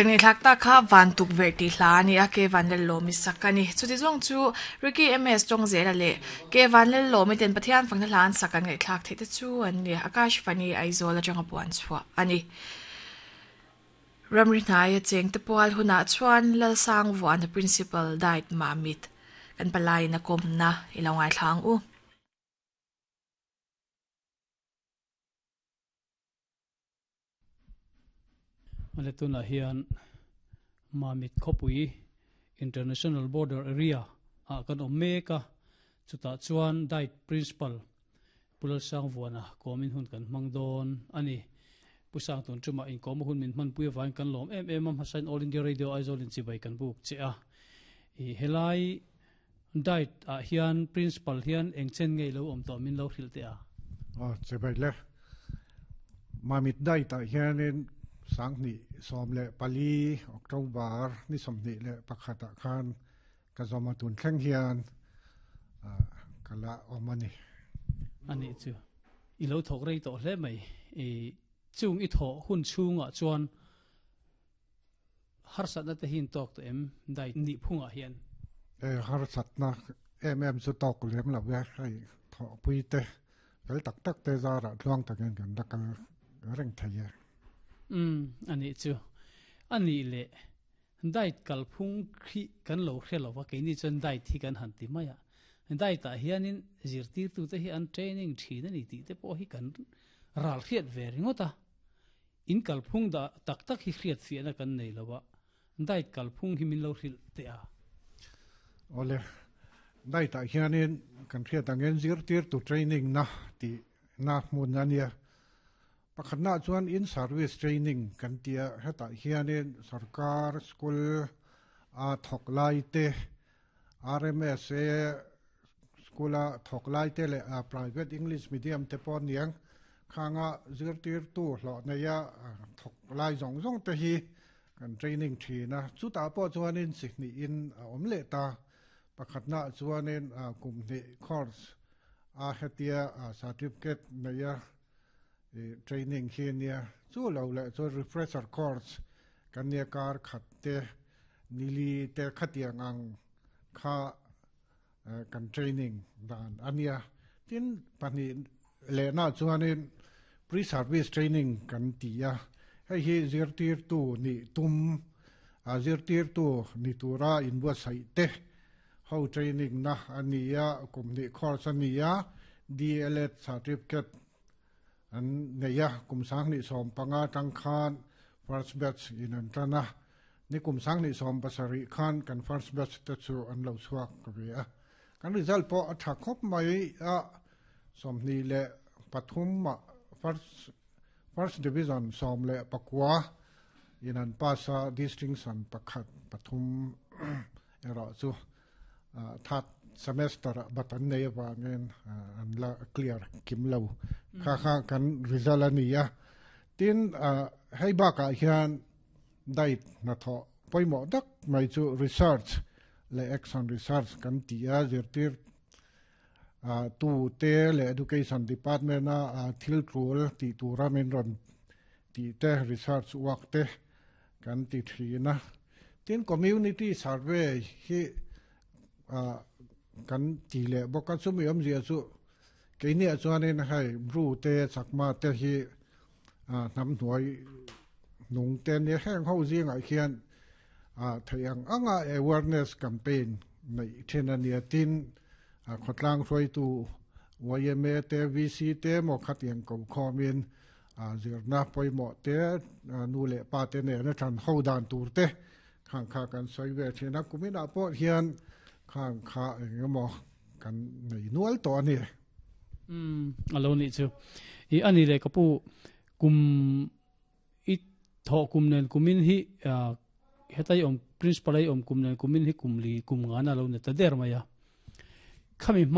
Kan ngaihthlak tak kha van tukverh tih hla a ni a, Ke Vanlallawmi sak a ni. Chuti zawng chu Ricky MS Tawngzela leh Ke Vanlallawmi ten Pathian fakna hla an sak an ngaihthlak theih te chu an ni. Akash Vani Aizawl atanga puan chhuah a ni. Ramri hnaia chengte pual hunah chuan Lalsang Vuana Principal Diet Mamit kan palaiin a kawmna i lo ngaithla ang u. Male tunah hian Mamit khawpui International Border Area ah kan awm mek a, chutah chuan Diet Principal Pu Lalsangvuana kawmin hun kan hmang dawn a ni. Pu Sangtun tumah inkawma hun min hmanpui avangin kan lawm em em a, hmasain All India Radio Aizawl in chibai kan buk che a. I helai Diet ah hian Principal hian eng chen ngei lo awm tawh min lo hrilh teh a? Aw, chibai le. Mamit Diet ah hianin 2014 October ni 21 ah khan ka zawm a tun thleng hian ka la awm a ni. A nih chu. I lo thawk rei tawh hle mai. I chung i thawh hun chhungah chuan Harsatna te hi in tawk tawh em dai nih phungah hian? E, harsatna em em chu tawk lem lo e, hei thawhpui te fel tak tak te zarah tluang takin kan la kal reng thei e. Umm, a nih chu. A nih leh diet kalphung khi kan lo hre lo va, keini chuan diet hi kan han ti mai a. Diet ah hianin zirtirtute hi an training thin a ni tih te pawh hi kan ral hriat ve ringawt a. In kalphung dah tak tak hi hriat fiahna kan nei lo a, diet kalphung hi min lo hrilh teh a. Awle, diet ah hianin kan hriat angin zirtirtu training na tih na hmun a nia. Pakhatna chuan in service training kan tia, hetah hianin sarkar school a thawk lai te, RMSA school a thawk lai te leh private English medium te pawh aniang khanga zirtirtu hlawh neia thawk lai zawng zawng te hi kan training thin a. Chutah pawh chuanin chi hnihin a awm leh ta. Pakhatnaah chuanin kum hnih course a hetia certificate neia training hi ania. Chu lo leh chuan refresher course kan nia kar khat te Nili te khatiang ang kha kan training dan a nia. Tin, pahnih lehna chuanin pre-service training kan ti a, hei hi zirtirtu nih tum, zirtirtu ni tura inbuatsaih te ho training na a ni a, kum hnih course a ni a, DLEd certificate an nei a, kum 2015 atang khan first batch in an tan a, ni kum 2017 khan kan first batch te chu an lo chhuak ve a, kan result pawh a tha khawp mai a, 23 ah first first division 19 in an pass a, distinction pakhat pathum erawh chu third semester ah bat an nei avangin an la clear kim lo kha kha kan result a ni a tin hei bakah hian diet hnathawh pawimawh tak mai chu research leh action research kan ti a zirtir tu te leh education department a thil tul tih tura min rawn tih te research work te kan ti thin a. Tin, community survey hi kan ti leh bawk a, chumi awmzia chu keiniah chuanin hei Bru te Chakma te hi hnam hnuai nung te nia heng ho zingah hian theih ang anga awareness campaign neih thin a nia. Tin, khawtlang hruaitu YMA te VC te emaw khatiang ko khawmin Zirna pawimawh te, nu leh pa te nena ṭhan ho dan tur te khang kha kan sawi ve ṭhin a, kuminah pawh hian khang kha eng emaw kan nei nual tawh a ni. Umm, a lo nih chu. I a ni leh ka pu, kum i thawh kum nen kumin hi hetai awm principal ai awm kum nen kumin hi kum li kum ngan a lo ni ta der mai a. Khami hma.